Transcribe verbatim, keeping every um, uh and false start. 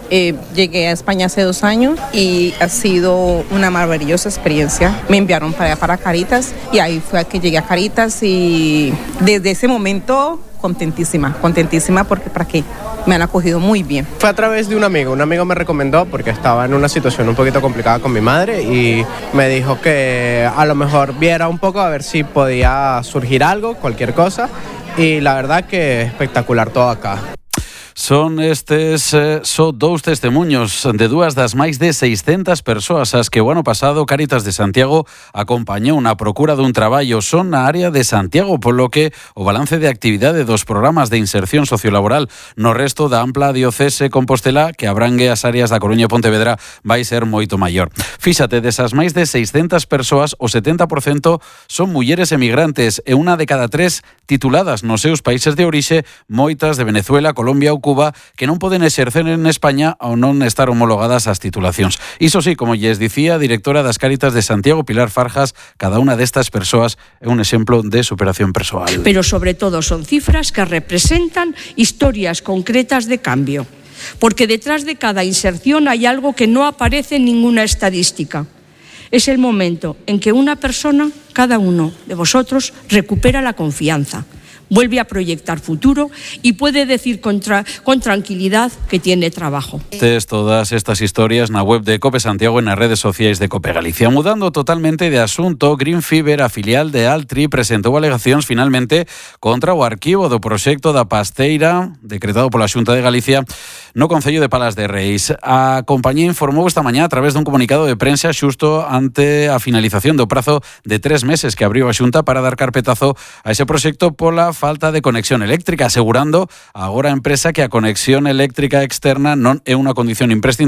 Eh, llegué a España hace dos años y ha sido una maravillosa experiencia. Me enviaron para allá, para Caritas, y ahí fue que llegué a Caritas y desde ese momento contentísima, contentísima porque para qué, me han acogido muy bien. Fue a través de un amigo, un amigo me recomendó porque estaba en una situación un poquito complicada con mi madre y me dijo que a lo mejor viera un poco a ver si podía surgir algo, cualquier cosa, y la verdad que espectacular todo acá. Son estes eh, só dous testemunhos de dúas das máis de seiscentas persoas as que o ano pasado Cáritas de Santiago acompañou na procura dun traballo. Son na área de Santiago, polo que o balance de actividade dos programas de inserción sociolaboral no resto da ampla diocese Compostela, que abrangue as áreas da Coruña e Pontevedra, vai ser moito maior. Fíxate, desas máis de seiscentas persoas, o setenta por cento son mulleres emigrantes e unha de cada tres tituladas nos seus países de orixe, moitas de Venezuela, Colombia ou Cuba, que non poden exercer en España ao non estar homologadas as titulacións. Iso sí, como lles dicía a directora das Cáritas de Santiago, Pilar Farjas, cada unha destas persoas é un exemplo de superación persoal. Pero sobre todo son cifras que representan historias concretas de cambio, porque detrás de cada inserción hay algo que no aparece en ninguna estadística. Es el momento en que una persona, cada uno de vosotros, recupera la confianza, vuelve a proyectar futuro y puede decir con, tra- con tranquilidad que tiene trabajo. Tes todas estas historias na web de Cope Santiago e nas redes sociais de Cope Galicia. Mudando totalmente de asunto, Green Fiber, a filial de Altri, presentou alegacións finalmente contra o arquivo do proxecto da Pasteira, decretado pola Xunta de Galicia, no Concello de Palas de Reis. A compañía informou esta mañá a través dun comunicado de prensa xusto ante a finalización do prazo de tres meses que abriu a Xunta para dar carpetazo a ese proxecto pola falta de conexión eléctrica, asegurando agora a empresa que a conexión eléctrica externa non é unha condición imprescindible